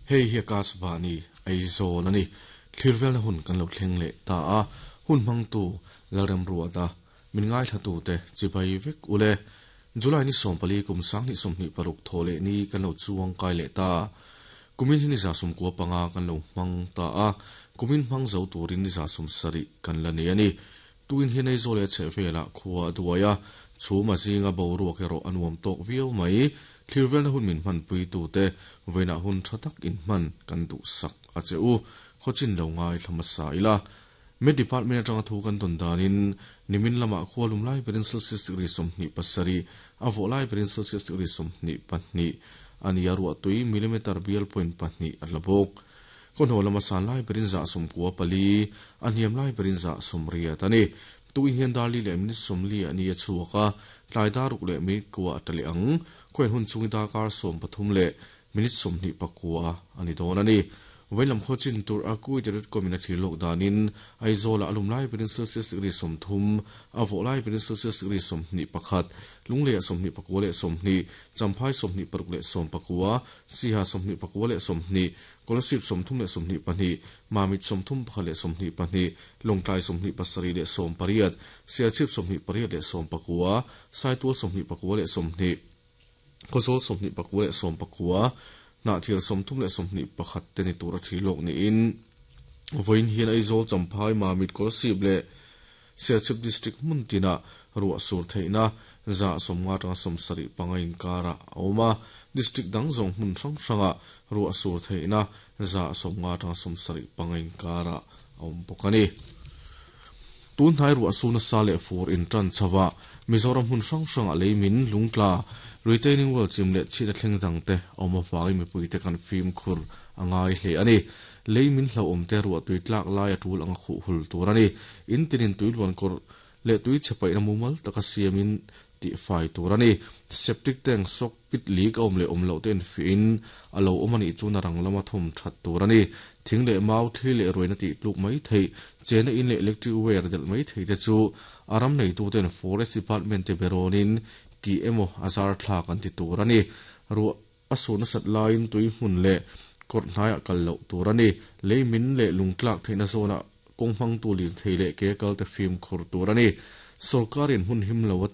Hei hi Akashvani, Aizawl a ni. Thlir velna hun kan lo thleng leh ta a, hun hmangtu Lalremruata, min ngaithlatute chibai vek ule. July ni 14 kum 2026 thaw leh ni kan lo chuang kai leh ta. Kumin hi ni 95 kan lo hmang ta a, kumin hmang zo turin ni 70 kan la nei a ni. Tuin hian Aizawl leh a chhehvelah khua a duai a, chhum a zinga boruak erawh a nuam tawk viau mai. Thlir velna hun min hmanpuitute vawiinah hun tha tak inhman kan duhsak a che u. Khawchin lo ngaithla hmasa ila. Met Department atanga thu kan tawn danin nimin lamah khua lum lai berin Celsius degree 27, a vawh lai berin Celsius degree 22 a ni a, ruahtui millimeter bial point pahnih a tla bawk. Kawhnaw lama san lai berin 94, a hniam lai berin 80 a ni. Tuin hian dar li leh minute 40 a ni a chhuak a, tlai dar ruk leh minute kua a tla leh ang. Khawian hun chungin darkar 13 leh minute 29 a ni dawn a ni. Vawiin lam khaw chin tur a Kuwait.com in a thlir lawk danin Aizawl-ah a lum lai berin Celsius degree 30, a vawh lai berin Celsius degree 21, Lungleiah 29 leh 20, Champhai 26 leh 19, Siha 29 leh 20, Kolasib 30 leh 22, Mamit 31 leh 22, Lawngtlai 27 leh 18, Sialchhip 28 leh 19, Saitual 29 leh 20, Khawzawl 29 leh 19, Hnahthial 30 leh 21 te ni tur a thlir lawk niin vawiin hian Aizawl, Champhai, Mamit, Kolasib leh Sialchhip District hmun tinah ruah sur theihna 50 atanga 75 inkarah a awm a. District dang zawng hmun hrang hrangah ruah sur theihna 50 atanga 75 inkarah a awm bawk a ni. Tun hnai ruah su nasa leh fur intan chhoa Mizoram hmun hrang hrangah leimin, lungtla, retaining wall chim leh chhit a thleng dangte a awm avangin mipuite kan fimkhur a ngai hle a ni. Leimin hlauhawm te ruah tui tlak lai a tul anga khuh hul tur a ni. In tinin tui luan kawr leh tui chhe paihna mumal taka siamin tih fai tur a ni. Septic tank soak pit leak a awm leh awm loh te infiahin a lo awm a nih chuan a rang lama thawm that tur a ni. Thing leh mau, thli leh ruaina tih tluk mai theih, chena in leh electric wire delh mai theih te chu a ram neituten Forest Department te berawnin kih emaw a zar thlak an ti tur a ni. Ruah a suh nasat laiin tui hmun leh kawrh hnaiah kal loh tur a ni. Lei min leh lungtlak theihna zawnah kawng hmangtu lirthei leh ke kal te fimkhur tur a ni. Sorkarin hmun him lo a ti.